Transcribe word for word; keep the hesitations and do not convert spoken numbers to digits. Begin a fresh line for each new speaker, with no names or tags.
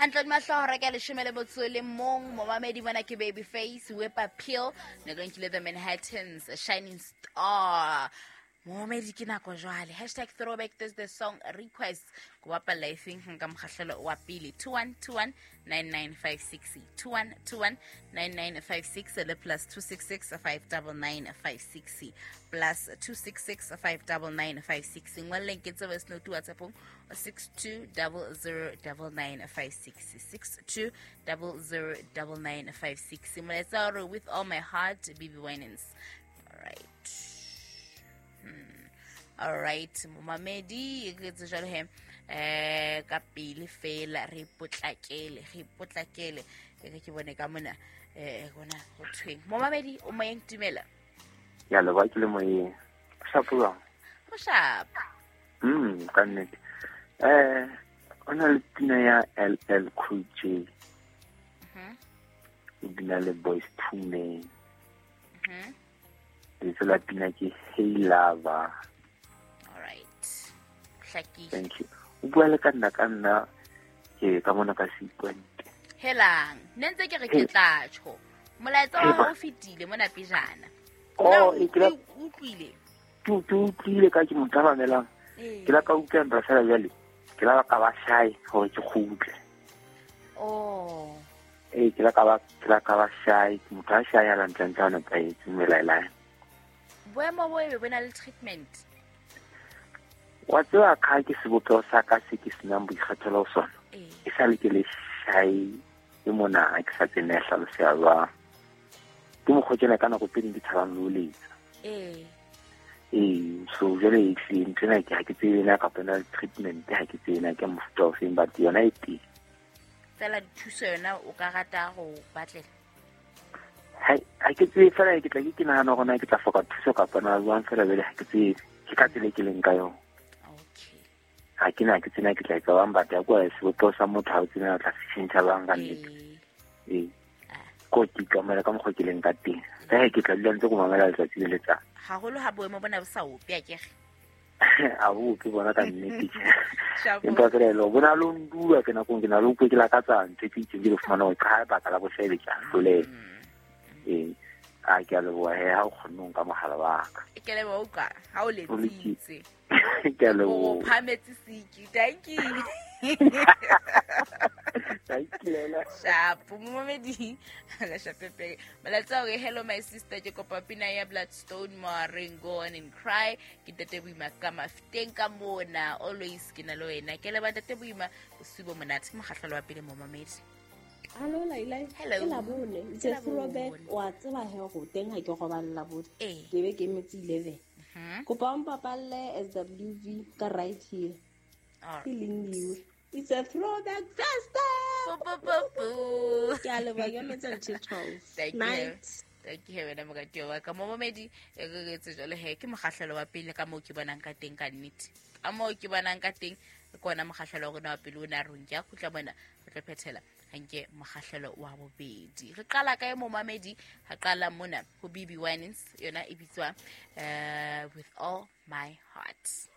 Hantle mahlo hora ka leshome le motso le mong momamedi mona ke Baby Face Whip Appeal ne go nkile the Manhattans Shining Star. Momamedi ke nako jwale hashtag throwback Thursday song request go bapalla efeng nka mokgahlelo wa pele two one two one nine nine five six two one two one nine nine five six le plus two six six five nine nine five six plus two six six five nine nine five six ngwalleng ke tsebe snow to WhatsApp six two zero zero nine nine five six six two zero zero nine nine five six molaetsa o re with all my heart B B Winans. All right. Hmm. All right, momamedi ke tse jalo he eh ka pele fela re potlakele re potlakele e ke bone ka mona eh gona go thweng momamedi o moyeng tumela
ya le ba ke le moyeng shapo jwang
go shapa
mm ka nnete eh o na le pina ya L L Cool J
mhm
o bina le Boyz two Men
mhm
lebitso la pina ke Hey Lover.
All right. Hlakile.
Thank you. O bua le ka nna ka nna ke ka mona ka sequente.
Helang, nne ntse ke re ke tla tjho. Molaetsa wa hao o fetile mona pejana.
Oh, e ke la
utlwile.
Ke ke utlwile ka ke motho a mamelang. Ke la ka utlwa nra fela jwale. Ke la ka ba shy hore ke kgutle.
Oh.
Eh ke la ka ba ke la ka ba shy, ke motho a shy ya lantlang tsa nepahetse melaela.
Boemo bo ebe bona le treatment.
Wa tseba ka ke sebopeho sa ka se ke senang boikgethelo ho sona. E sa le ke le shy e mona ha ke sa tsene hlaloseha jwang. Ke mokgwa tjena ka nako tse ding ke tshabang le ho letsa.
Eh.
Ee, so jwale ehlile ntho ena ke ha ke tsebe na kapa ena le treatment ha ke tsebe na ke mofuta ofeng but yona e teng.
Fela dithuso yona o ka rata ho batlela?
Ha ha ke tsebe fela ke tla ke ke nahana hore na ke tla hloka thuso kapa na jwang fela jwale ha ke tsebe. Ke ka tsela e ke leng ka yona.
Okay.
Ha ke na ke tsena ke tla etsa bang but ya kwa sebopeho sa motho ha o tsena o tla se tjhentjha bang ka nnete. Ee. Ko ke ikamela ka mokgwa ke leng ka teng. Ka he ke tla dula ntse ko mamela letsatsi le letsatsi.
Haholo ha boemo bona bo sa ope akere.
A bo ke bona ka nnete. Empa fela e le bona lo ndua ke nakong ke na le utlwe ke lakatsa ntho tse itseng ke le fumana hore ka baka la boshebe ke a hloleha. Ee, a ke a leboha he ha o kgonne ho nka mohala wa ka.
Ke leboha utlwa ha o letsitse.
Ke a leboha.
O phametse siki. Thank you.
Thank you Lela.
Shapo momamedi la shapepe. Molaetsa o re hello my sister ke kopa pina ya Bloodstone Moareng go on and cry ke Ntate Boima ka mafteng ka mona always ke na le wena ke leba Ntate Boima bosiu bo monate ke mokgahlelo wa pele momamedi.
Hello Laila.
Hello.
Ke Labone.
Ke
It's a throwback wa tseba he go teng ha ke robala Labone.
Ee.
Ke be ke emetse eleven.
Mhm.
Kopa o mpapalle S W V ka right here.
All
Ke Lindiwe. It's a throwback Thursday.
Po po po po.
Ke a leboha ke emetse until twelve.
Thank you.
Night.
Thank you wena moratuwa wa ka momamedi e re etse jwale he ke mokgahlelo wa pele ka moo ke bonang ka teng ka nnete. Ka moo ke bonang ka teng ke ona mokgahlelo wa rona wa pele o na rong ke a khutla bona re tlo phethela hanke mokgahlelo wa bobedi. Re qala kae momamedi? Ha qala mona ho B B Winans yona e bitswa eh with all my heart.